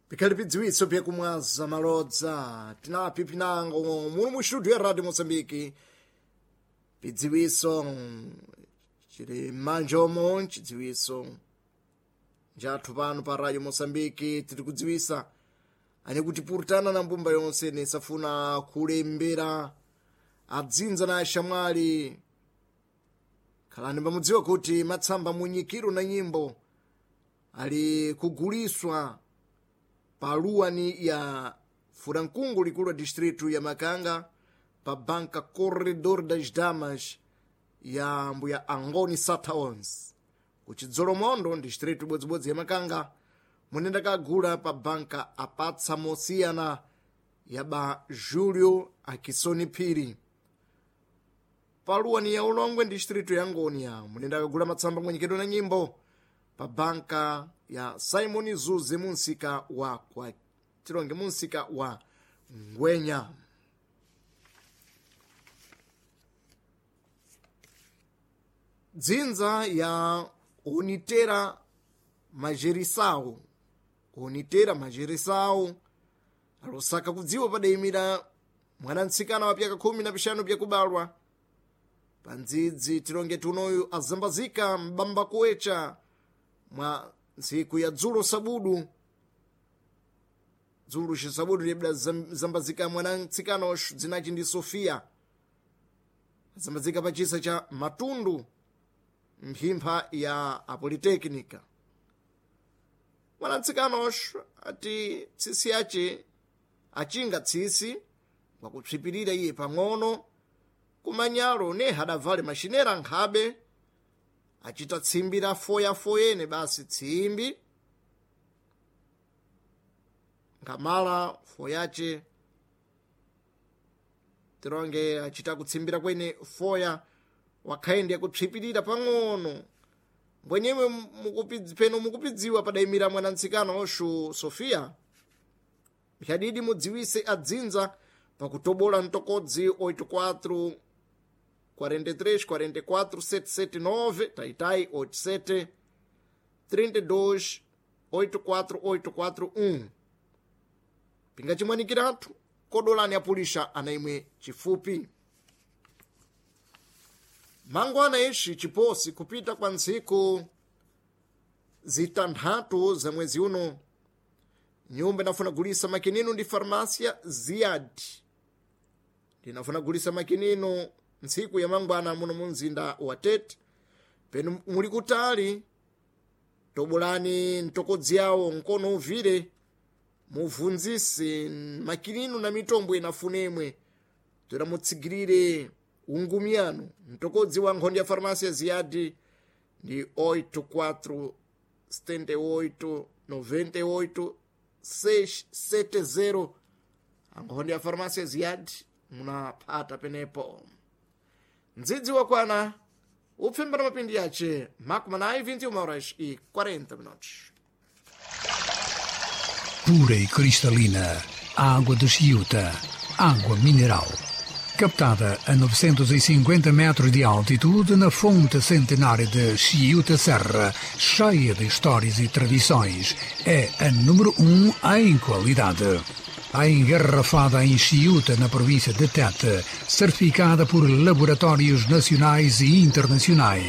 Pikhali pidziwitso pyakumwaza malodza tinapi pinango muno mu studio ya Radio Moçambique pidziwitso chili m'manjomo chidziwitso njathu pano pa Radio Moçambique tiri kudziwisa ane kuti purutana na mbumba yonse nesafuna kulembera adzinza na axamwali khalani pamudziwa kuti matsamba munyikiro na nyimbo ali kuguliswa pa luwani ya furankungu likulu la distrito ya Makanga pa banka Corredor das Damas ya mbuya Angoni Sataons kuchidzolomondo distrito ibodzibodzi ya Makanga munenda kagula pa banka apatsa mosiyana ya ba Julio Akisoni Phiri paluwani ya ulongwe distrito ya Ngonia munenda kagula matsamba mwenyekedwa na nyimbo pa banka ya Simon Zuze munsika wa kwa tilonge munsika wa Ngwenya. Dzinza ya Onitera Majerisau Onitera Majerisau alosaka kudziwa padayimira mwanamtsikana wa pyaka 15 pyakubalwa pandzidzi tilonge tunoyu azambazika mbamba kuwecha mwa ntsiku ya dzulo sabudu dzulo cisabudu liyebda zambazika mwanamtsikana oxu dzinaci ndi Sofia azambazika pa chisa cha Matundu mphimpha ya apoliteknika mwanamtsikana oxu ati tsisi yace achinga tsisi wakupsipirira iye pang'ono kumanyalo ne hadavale maxinera nkhabe achita tsimbi la foyafoyene basi tsimbi ngamala foyace tilonge achita kutsimbira kwene foya wakhaende yakupsipirira pang'ono mbwenyemwe peno mukupidziwa padayimira mwanamtsikana oxu Sofia mphadidi mudziwise adzinza pakutobola mtokodzi 84 43 44 779 taitai 87 32 84841 pingachimwanikiratu kodolani apulisha ana imwe chifupi mangwana ixi chiposi kupita kwa ntsiku zitanthatu za mwezi uno nyumba inafuna gulisa makinino ndi farmácia Ziad ndinafuna gulisa makinino ntsiku ya mangwana muno mu mzinda wa Tete penu muli kutali tobolani mtokodzi yawo nkono uvire muvunzise makinino na mitombo inafunemwe toera mutsigirire ungumyano mtokodzi wa nkhondo ya farmácia Ziad ndi 84 78 98 670 ankhondo ya farmácia Ziad munapata penepo ndzidzi wakwana upfimba na mapindi yace makumi anayi 21 horas e 40 minutos. Pura e cristalina, a água de Chiuta, água mineral. Captada a 950 metros de altitude na fonte centenária de Chiuta Serra, cheia de histórias e tradições, é a número 1 em qualidade. A engarrafada em Chiuta, na província de Tete, certificada por laboratórios nacionais e internacionais,